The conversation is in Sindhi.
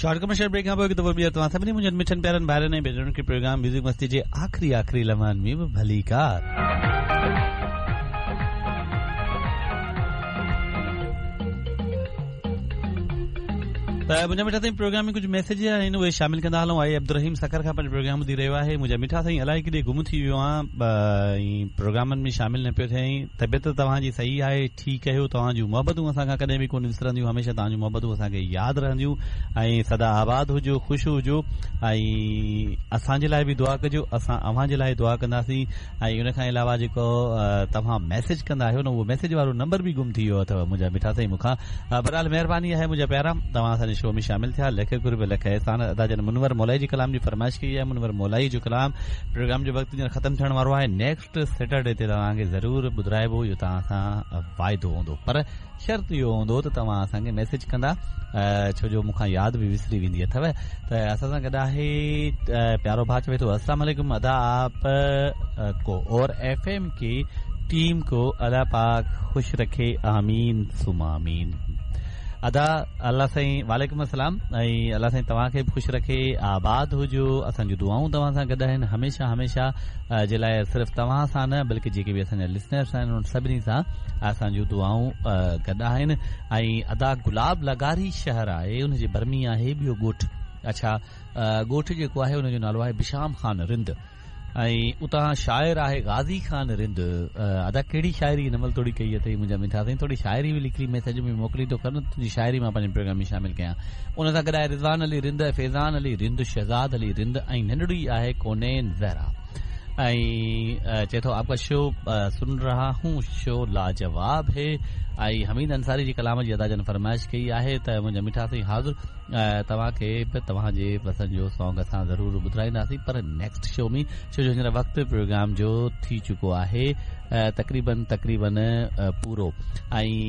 شارٽ ڪمرشل بريڪ کان پوء هڪ دفعو ٻيهر توهان سڀني منهنجن مٺن پيارن ڀائرن ۽ ڀينرن کي پروگرام ميوزڪ مستي جي آخري آخري لمحن ۾ به ڀليڪار. ته منهنجا مٺا سائين پروگرام ۾ ڪجهه ميسيج آهن اهي شامل ڪندا هلون آهي عبدالرحيم سکر کان پنهنجو پروگرام ٻڌي رهيو آهي منهنجا مٺا سائين الائي ڪيڏي گم ٿي ويو آهيان ۽ پروگرامن ۾ شامل نه پيو ٿئين طبيعت توهان جي صحيح آهي ٺيڪ آهيو توهان جون محبتون اسان کان ڪڏهن به ڪونه وسرنديون هميشه توهان جون محبتون اسان کي ياد رهنديون ۽ سدا آباد هجو خوش هجو ۽ اسان جي لاء به دعا ڪجو اسان اوهان جي لاء دعا ڪنداسين ۽ ان کان علاوه جيڪو توهان ميسيج ڪندا آهيو نه اهو ميسيج وارو نمبر به گم ٿي ويو اٿو منهنجا مٺا سائين مون کان بهرحال مهرباني آهي منهنجا پيارا توهان اسان جي شو ۾ شامل ٿيا لک قرب لک احسان ادا جن منور مولائي جي ڪلام جي فرمائش ڪئي آهي منور مولائي جو ڪلام پروگرام جو وقت هينئر ختم ٿيڻ وارو آهي نيڪسٽ سيٽرڊي تي توهان کي ضرور ٻڌرائبو اهو توهان سان واعدو هوندو پر شرط اهو هوندو ته توهان اسان کي ميسيج ڪندا ڇو جو مون کان ياد به وسري ويندي اٿو ته اسان سان گڏ آهي پيارو ڀاء چوي ٿو السلام عليڪم ادا آپ ڪو اور ايف ايم ڪي ٽيم ڪو الله پاڪ خوش رکي آمين ثم آمين ادا الله سائين وعليڪم السلام ۽ الله سائين توهان کي به خوش رکي آباد هجو اسان جون دعائون توهان سان گڏ آهن هميشه هميشه جي لاء صرف توهان سان نه بلڪه جيڪي به اسان جا لسنرس آهن انهن سڀني سان اسان جون دعائون گڏ آهن ۽ ادا گلاب لغاري شهر آهي ان جي ڀر ۾ آهي ٻيو ڳوٺ اڇا ڳوٺ جيڪو آهي ان جو نالو آهي بشام خان رند ۽ اتان شاعر آهي غازي خان رند ادا ڪهڙي شاعري هن مهل توڙي ڪئي اٿئي منهنجا مٺا سائين ٿوري شاعري به لکي ميسيج ۾ موڪليندو ڪر نه تنهنجي شاعري مان پنهنجي پروگرام ۾ شامل ڪيان ان سان گڏ آهي رضوان علي رند، فيضان علي رند، شهزاد علي رند ۽ ننڍڙي آهي ڪونين زهرا ۽ چئي ٿو آپ ڪا شو سن رها هون شو لاجواب هي ۽ حميد انصاري جي ڪلام جي ادا جن فرمائش ڪئي آهي ته منهنجا مٺا سائين حاضر توهان کي به توهان جي پسند جو سانگ اسان ضرور ٻڌرائينداسين پر نيڪسٽ شو ۾ ڇو جو هينئر وقت پروگرام جو ٿي چڪو آهي تقريبن تقريبن پورو ۽